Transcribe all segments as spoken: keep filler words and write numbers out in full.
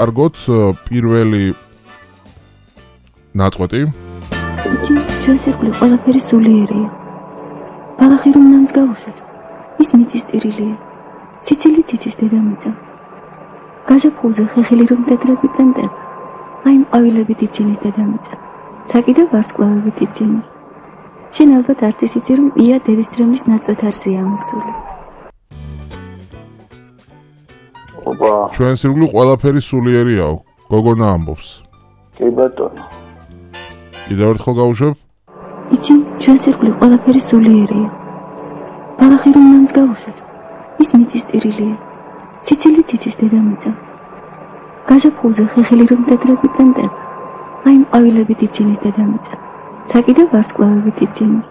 კარგოთ პირველი ნაწყვეტი. იცი, ჩვენს ირგვლივ ყველაფერი სულიერია. ბალახი რომ ნამს გაუშვებს, ის მიწის ტირილია. ციცილი ციცის დედამიწა. გაზაფხულზე ხეხილი რომ ტეტრად იპენდება, აი მყავილებით ცინის დედამიწა. ცაკი და ვარსკვლავებით ცინის. შენ ალბათ არ იცი რომ ია დედისწრემლის ნაწვეთ არსია ამოსული. ოპა. ჩვენს ირგვლივ ყველაფერი სულიერიაო, გოგონა ამბობს. კი ბატონო. კიდევ ერთხელ გავუშვებ? იცი, ჩვენს ირგვლივ ყველაფერი სულიერია. ბალახი რომ ნამს გაუშვებს, ის მიწის ტირილია. ციცილი ციცის დედამიწა. გაზაფხულზე ხეხილი რომ ტეტრად იპენდება, აი მყავილებით ცინის დედამიწა. ცაკი და ვარსკვლავებით ცინის.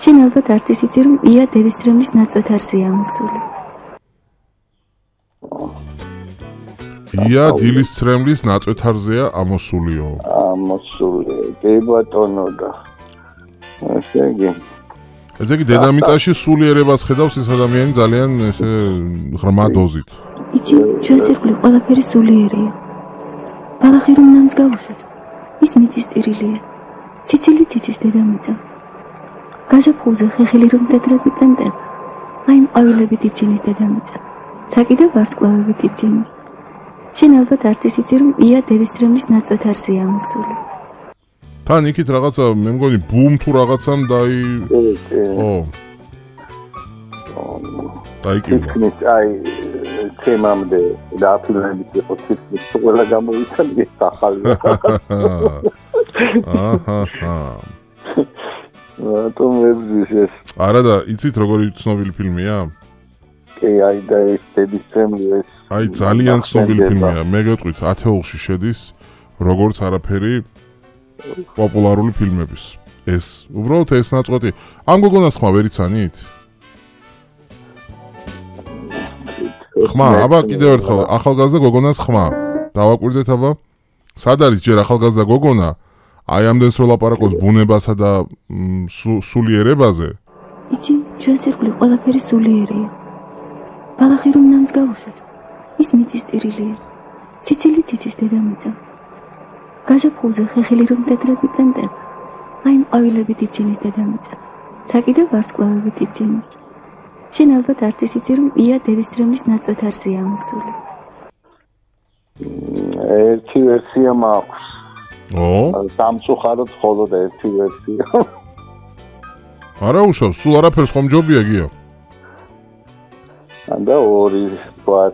შენ ალბათ არ იცი რომ ია დედისწრემლის ნაწვეთ არსია ამოსული. ია დილისწრემლის ნაწვეთ არსია ამოსულიო. ამოსული. კი ბატონო და ესე იგი ესე იგი დედამიწაში სულიერებას ხედავს ეს ადამიანი ძალიან ესე ღრმა დოზით. იცი, ჩვენს ირგვლივ ყველაფერი სულიერია. ბალახი რომ ნამს გაუშვებს, ის მიწის ტირილია. ციცილი ციცის დედამიწა. გაზაფხულზე ხეხილი რომ ტეტრად იპენდება, აი მყავილებით ცინის დედამიწა. ცაკი და ვარსკვლავებით ცინის. შენ ალბათ არ იცი რომ ია დედისწრემლის ნაწვეთ არსია ამოსული. თან იქით რაღაცა მე მგონი ბუმ თუ რაღაცამ დაი ო დაიკივა. აი თემამდე დააფილმებით იყო თითქმის ყველა გამოვიცანე ახალი. აჰა. რატომ ვებზის ეს? არა და იცით როგორი ცნობილი ფილმია? კი, აი და ეს დედისწრემლი ეს აი ძალიან ცნობილი ფილმია. მე გეტყვით ათეულში შედის როგორც არაფერი პოპულარული ფილმების. ეს უბრალოდ ეს ნაწყვეტი. ამ გოგონას ხმა ვერ იცანით? ხმა, აბა კიდევ ერთხელ ახალგაზრდა გოგონას ხმა. დავაკვირდეთ აბა. სად არის ჯერ ახალგაზრდა გოგონა? აი ამდენს რო ლაპარაკობს ბუნებასა და სულიერებაზე. იცი, ჩვენს ირგვლივ ყველაფერი სულიერია. ბალახი რომ ნამს გაუშვებს, ის მიწის ტირილია. ციცილი ციცის დედამიწა. გაზაფხულზე ხეხილი რომ ტეტრად იპენდება, აი მყავილებით ცინის დედამიწა. ცაკი და ვარსკვლავებით ცინის. შენ ალბათ არ იცი რომ ია დედისწრემლის ნაწვეთ არსია ამოსული. ერთი ვერსია მაქვს. ო? სამწუხაროდ მხოლოდ ერთი ვერსია. არა უშავს, სულ არაფერს ხომ ჯობია გია? და ორი ვარ.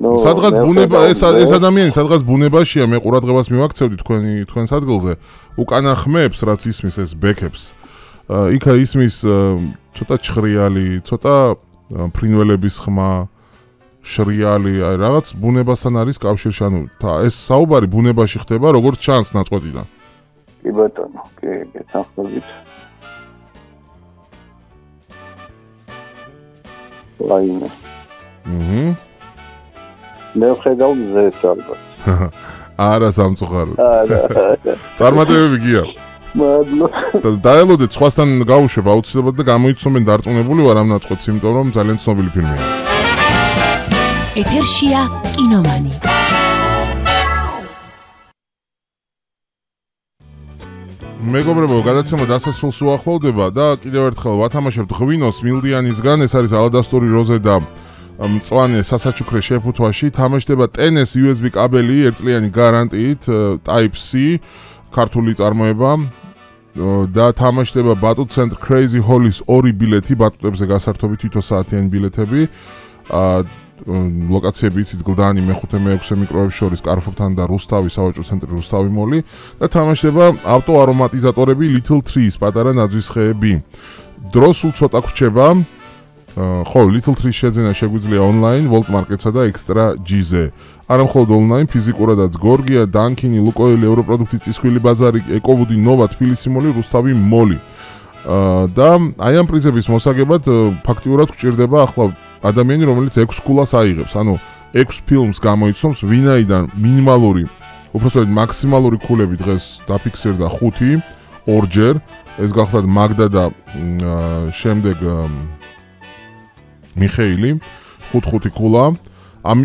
სადღაც ბუნება ეს ეს ადამიანი სადღაც ბუნებაშია მე ყურადღებას მივაქცევდი თქვენი თქვენს ადგილზე უკანა ხმებს რაც ისმის ეს ბექებს იქა ისმის ცოტა ჩხრიალი ცოტა ფრინველების ხმა შრიალი აი რაღაც ბუნებასთან არის კავშირში ანუ ეს საუბარი ბუნებაში ხდება როგორც ჩანს ნაწყვეტიდან კი ბატონო კი გესახმებით ლაინე აჰა მე ვხედავ მზეს ალბათ. არა სამწუხაროდ. არა. წარმატებები გია. მადლობა. დაელოდეთ სხვასთან გავუშვებ აუცილებლად და გამოიცნობენ დარწმუნებული ვარ ამ ნაწყვეტს, იმიტომ რომ ძალიან ცნობილი ფილმია. ეთერშია კინომანი. მეგობრებო, გადაცემა დასასრულს უახლოვდება და კიდევ ერთხელ ვათამაშებთ ღვინოს მილდიანისგან, ეს არის ალადასტური როზე და მწვანე სასაჩუქრე შეფუთვაში თამაშდება ტენეს იუ ეს ბი კაბელი ერთწლიანი გარანტიით Type C ქართული წარმოება და თამაშდება ბატუტ ცენტრ Crazy Hall-ის ორი ბილეთი ბატუტებზე გასართობი თითო საათიანი ბილეთები ლოკაციები იცით გლდანი მეხუთე მეექვსე მიკროების შორის კარფურთან და რუსთავი სავაჭრო ცენტრი რუსთავი მოლი და თამაშდება ავტო არომატიზატორები Little Trees პატარა ნაძვის ხეები დრო სულ ცოტა გრჩება ხო, Little Trees შეძენა შეგვიძლია ონლაინ, Volt Market-სა და Extra G-ზე. არა მხოლოდ ონლაინ, ფიზიკურადაც გორგია, დანკინი, ლუკოილი, ევროპროდუქტის წისქვილი ბაზარი, ეკოვუდი, ნოვა, თბილისი მოლი, რუსთავი მოლი. და აი ამ პრიზების მოსაგებად ფაქტიურად გვჭირდება ახლა ადამიანი, რომელიც ექვს ქულას აიღებს, ანუ ექვს ფილმს გამოიცნობს, ვინაიდან მინიმალური, უბრალოდ მაქსიმალური ქულები დღეს დაფიქსირდა ხუთი, ორჯერ, ეს გახლავთ მაგდა და შემდეგ მიხეილი ხუთ ხუთი ქულა ამით